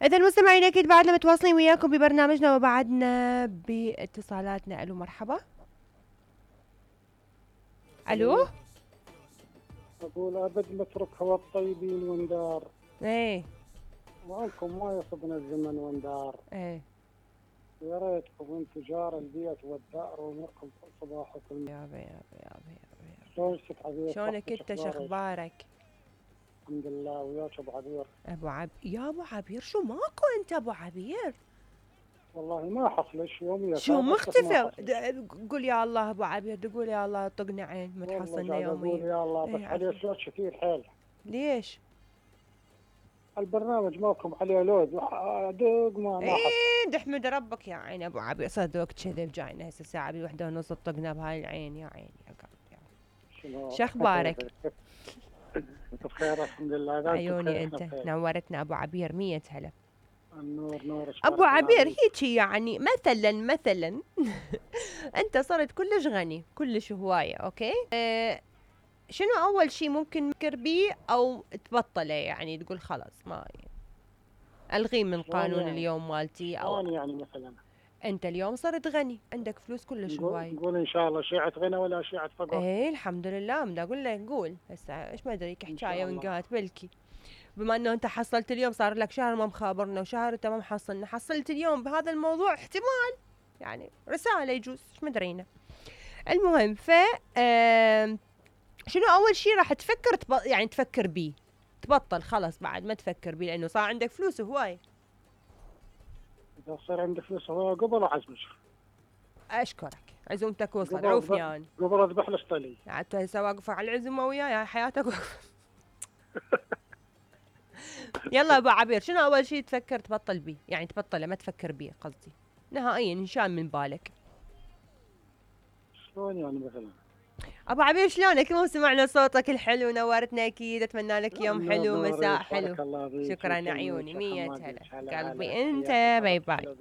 إذا المستمعين أكيد بعدنا متواصلين وياكم ببرنامجنا وبعدنا باتصالاتنا. ألو مرحبا. ألو. أقول أبد مترك هوا الطيبين وندار. إيه. وعنكم ما يصبنا الزمن وندار. إيه. يا ريتكم انتم جار البيت والدار واموركم صباحكم. يابا. شلونك عبير؟ شلونك انت؟ شخبارك؟ الحمد لله. وياك ابو عبير؟ يا ابو عبير شو ماكو انت ابو عبير؟ والله ما حصلش يوم شو مختفي؟ قول يا الله ابو عبير، تقول يا الله طقنا عين ما تحصلنا يوميا. قول يا الله بس عليه صوت كثير حيل. ليش؟ البرنامج ماكم عليه لود دق ما ايه تحمد ربك يا عيني ابو عبير. صدق كذب جاينا هسه الساعه بوحده ونص طقنا بهاي العين. يا عيني يا قلبي. شو اخبارك؟ بخير الحمد لله. عيوني انت نورتنا ابو عبير. 100 هلا. النور نور ابو عبير. هيجي يعني مثلا انت صرت كلش غني كلش هوايه. اوكي شنو اول شيء ممكن تفكر بيه او تبطله؟ يعني تقول خلاص ما الغي من قانون يعني اليوم مالتي او يعني مثلا انت اليوم صرت غني عندك فلوس كلش هواي. نقول ان شاء الله شيعة غنى ولا شيعة فقر. ايه الحمد لله. بدي اقول لك قول هسه ايش ما ادري حكايه ونقات بلكي بما انه انت حصلت اليوم صار لك شهر ما مخابرنا وشهر انت ما محصلنا، حصلت اليوم بهذا الموضوع احتمال يعني رساله يجوز ايش مدرينا. المهم شنو اول شيء راح تفكر يعني تفكر بيه تبطل خلاص بعد ما تفكر بيه لانه صار عندك فلوس هواي؟ اذا صار عندك فلوس هواي قبل اعزمك. اشكرك عزومتك وصل عوفني يعني. قبل اذبح لك طلي. انت هسه واقفه على العزومه وياي حياتك يلا ابو عبير شنو اول شيء تفكر تبطل بيه؟ يعني تبطله ما تفكر بيه قصدي نهائيا انشان من بالك. شلون يعني مثلا؟ ابو عبير شلونك؟ مو سمعنا صوتك الحلو نورتنا اكيد. اتمنى لك يوم حلو مساء حلو. شكرا عيوني. 100 هلا قلبي انت. باي باي.